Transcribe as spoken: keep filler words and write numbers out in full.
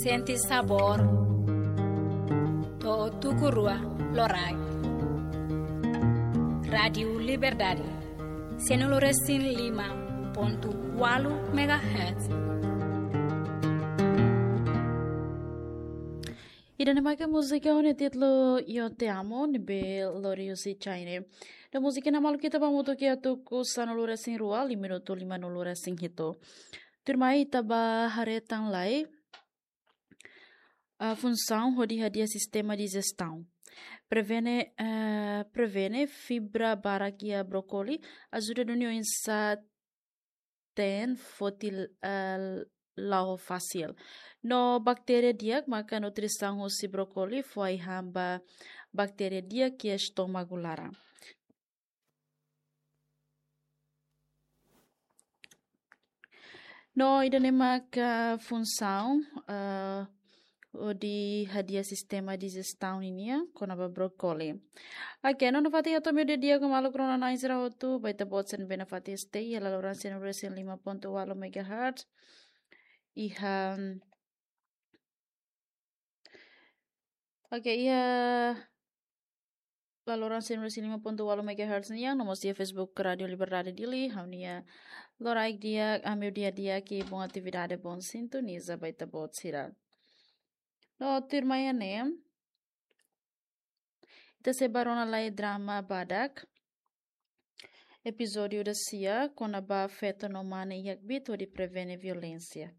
Sente sabór, to'o tuku rua loraik. Rádiu Liberdade, sanulu-resin-lima pontu ualu megahertz. Ida-ne'e maka múzika ho nia títulu Yo Te Amo, ne'ebé lori husi Chaine. No múzika ne'e malu ita ba hamutuk iha tuku sanulu-resin-rua, lima minutu limanulu-resin-hitu. Tuirmai ita ba haree tan lai, ah, funsaun hodi hadi'a sistema dijestion. Prevene, eh, prevene fibra barak iha brókoli, ajuda duni oinsá teen foti, eh, la'o fasil. No baktéria di'ak maka nutrisaun husi brókoli fó ai-han ba baktéria di'ak iha estómagu laran. No ida-ne'e maka funsaun, eh, hodi hadi'a sistema dijestion nian kona-ba brókoli. Oke, no nafatin atu ami-nia di'ak ho maluk rona-na'in sira hotu, ba ita-boot sira ne'ebé nafatin stay iha laloran sanulu-resin-lima pontu ualu megahertz. Iha, oke, iha laloran sanulu-resin-lima pontu ualu megahertz nian, no mós iha Facebook Rádiu Liberdade Dili, ha'u-nia loraik di'ak, ami-nia di'ak, bom atividade, bom sintoniza ba ita-boot sira. No tuirmai ne'e, ita sei ba rona lai drama badak, epizódiu dasia, kona-ba feto no mane iha kbiit hodi prevene violénsia.